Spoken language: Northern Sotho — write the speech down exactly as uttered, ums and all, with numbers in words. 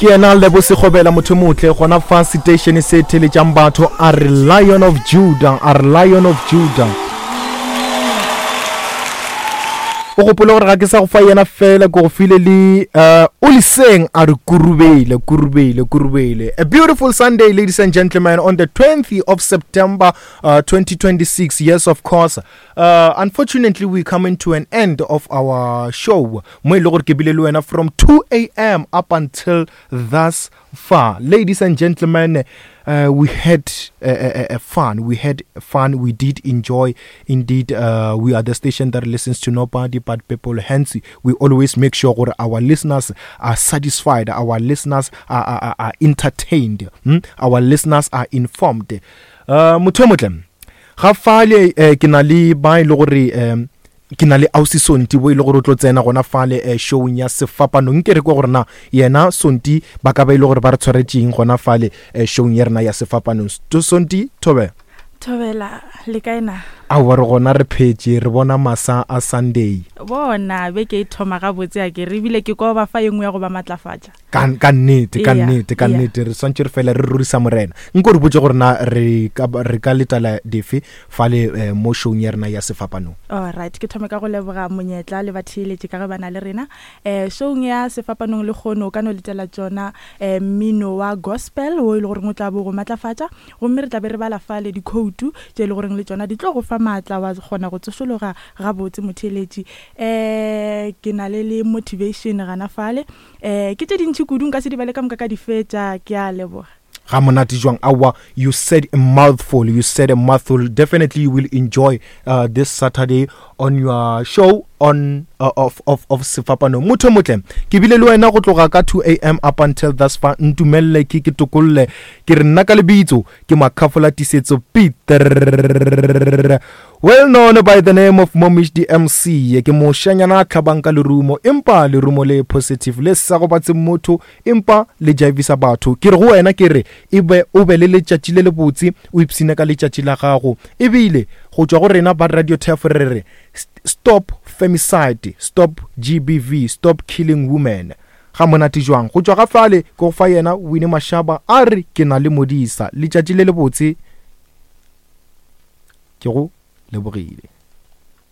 Ke yena Lebo Sekgobela, motho motle gona fa station se theletšang batho. A re Lion of Judah, a re Lion of Judah. O gopole gore ga ke sa go fa yena fela, ke go file le uh, o leseng a re kurubele, kurubele, kurubele. A beautiful Sunday, ladies and gentlemen, on the twentieth of September uh, twenty twenty-six. Yes, of course, uh, unfortunately we coming to an end of our show mo e le gore ke bile le wena from two a m up until thus far. Ladies and gentlemen, uh, we had uh, uh, uh, fun. We had fun. We did enjoy. Indeed, uh, we are the station that listens to nobody but people. Hence, we always make sure that our listeners are satisfied. Our listeners are, are, are, are entertained. Hmm? Our listeners are informed. Uh, motho motle, ga fale ke na le ba ile gore um ke na le ausi Sonti bo ile gore o tlo tsena gona fale eh, showing ya Sefapano. Nke re kwa gore na yena Sonti ba ka ba ile gore ba re tshwaretseng gona fale eh, showing ya rena ya Sefapano. Sonti, thobe. Thobela, le kae na? Aowa, re gona re phetse, re bona masa a Sunday. Bona beke e thoma gabotse a ke re ebile ke kwa ba fa engwe ya go ba matlafatša. Ka ka nnete, ka nnete, ka nnete re swantse re fela re rurisa morena. Nko re botse gore na re ka re ka letala dife fale eh, mo showing ya rena ya Sefapano. All right, ke thome ka go leboga monyetla le batheeletši ka ge ba na le rena. Eh showing ya Sefapanong le kgono ka no letela tsona eh mmino wa gospel o ile gore o tla bo go matlafatša, gomme re tla be re bala fale dikhoutu tše le goreng le tsona di tlo go fa maatla wa kgona go tsošologa gabotse motheeletši. Eh ke na le le motivation gana fale. Eh ke tše dintši kudu nka se di bale ka moka ka di fetša, ke a leboga. Ga monate jwang. Aowa, you said a mouthful, you said a mouthful. Definitely you will enjoy uh, this Saturday on your show on uh, of of of Sefapano. Motho motle, ke bile le wena go tloga ka two a m up until thus far. Ntumelle ke ke tokolle, ke re nna ka lebitso ke Makhafola Tisetso Peter, well known by the name of Momish D M C. Ke moshanyana a tlhabang ka lerumo, empa lerumo le positive le sa go batse motho, empa le jaivisa batho. Ke re go wena ke re ebe o be le letšatši le le botse, o ipsine ka letšatši la gago. Ebile go tšwa go rena ba Radio Turf re re stop femicide, stop G B V, stop killing women. Ga monate jwang. Go tšwa ga fale ke go fa yena Winnie Mashaba a re ke na le modisa. Letšatši le le botse, ke go lebogile.